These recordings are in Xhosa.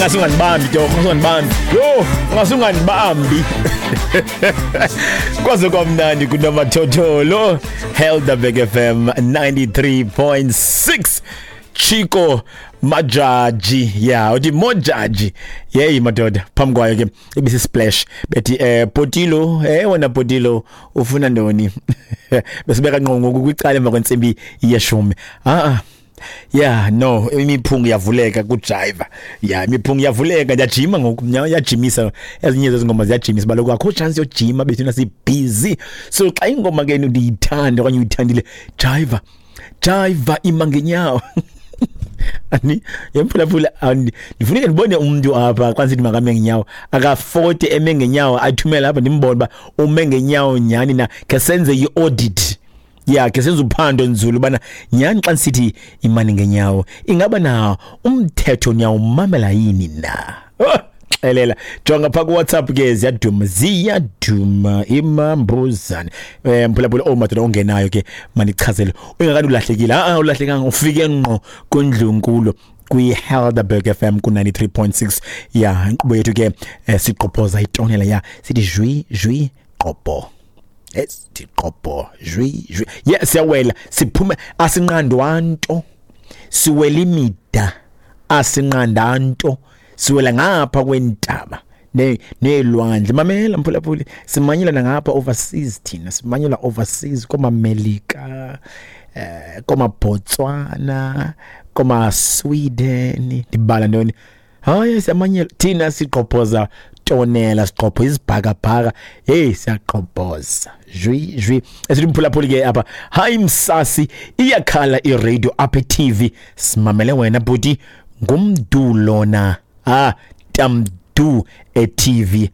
Ingase ungandibambi torho, ingase ungandibambi. Yho, ingase ungandibambi. Kwaze kwamnandi kunomathotholo. Helderberg FM 93.6. Chico Majaji, yeah, uthi Mojaji. Yeyi madoda, phambi kwayo ke ibisi splash bethi Potilo, wena Potilo ufuna ntoni? Besibeka ngqo ngoku kwicala emva kwentsimbi yeshumi. Ah. Yeah, no, imiphunga iyavuleka kujiva. Yeah, imiphunga iyavuleka, ndiyajima ngoku, iyajimisa. Ezinye zezi ngoma ziyajimisa, baloku akho chance yojima bethuna si busy. So xa ingoma ke ndiyithanda okanye uyithandile, jiva. Jiva ima ngenyawo. Ani yemphulaphula, ndifuneke ndibone umntu apha xa ndisithi makame ngenyawo, akafote eme ngenyawo, athumele apha ndimbone uba ume ngenyawo nyhani na, khe senze i-audit. Ya, ke senze uphando nzulu ubana nyhani xa ndisithi imani ngenyawo, ingaba na umthetho niyawumamela yini na? Oh, xelela, jonga phaa kuWhatsApp ke, ziyaduma, ziyaduma imambuzane. Mphulaphula, oh madoda ongenayo ke, mandichazele, ungakade ulahlekile. A ulahlekanga, ufike ngqo kwindlunkulu kwi-Helderberg FM ku-93.6. Ya, inkqubo yethu ke, sigqobhoza itonela, ya, sithi jwi jwi gqobho, esithi gqobho jwi jwi. Ye, siyawela, siphume, asinqandwa nto, siwela imida, asinqanda nto, siwela ngapha kwentaba neelwandle. Mamela mphulaphuli, simanyela nangapha overseas, thina simanyela overseas, koomamelika, koomaBotswana, koomaSweden, ndibala ntoni? Hayi, siyamanyela thina, sigqobhoza tonela, sigqobho izibhakabhaka. Hey, siyagqobhoza jwi jwi. Esithi mphulaphuli ke apha, hayi msasi, iyakhala iradio apha e-TV, simamele wena bhuti, ngumdu lona, ah tamdu e-TV.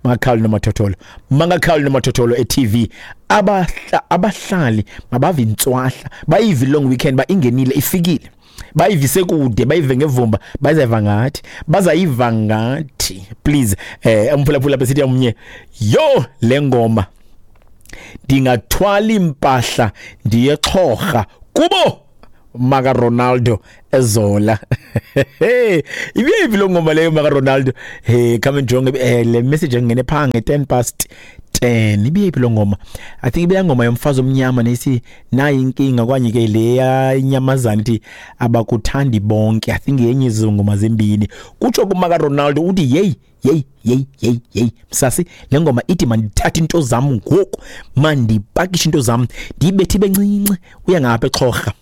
Mangakhawuli nomathotholo, mangakhawuli nomathotholo e-TV. Abahlali mabave intswahla, bayive long weekend ba ingenile, ifikile, bayivise kude, bayive ngevumba, bazayiva ngathi, bazayiva ngathi. Please, umphulaphula besithi omnye, yo le ngoma ndingathwala impahla ndiye xhorha kubo maka Ronaldo ezola. Ibiyiphi lo ngoma leyo maka Ronaldo? Hey, come njonge le message engene pha nge 10 past 10, ibiyiphi lo ngoma? I think ibiya ngoma yomfazi omnyama nesi nayi inkinga, kwanye ke leya inyamazana ithi abakuthandi bonke. I think yenye izongoma zembini kutsho kumaka Ronaldo, uthi hey hey hey hey hey msasi, le ngoma ithi mandithathe into zam ngoku, mandipakishe into zam, ndiyibethe ibe ncinci, uya ngapha exhorha.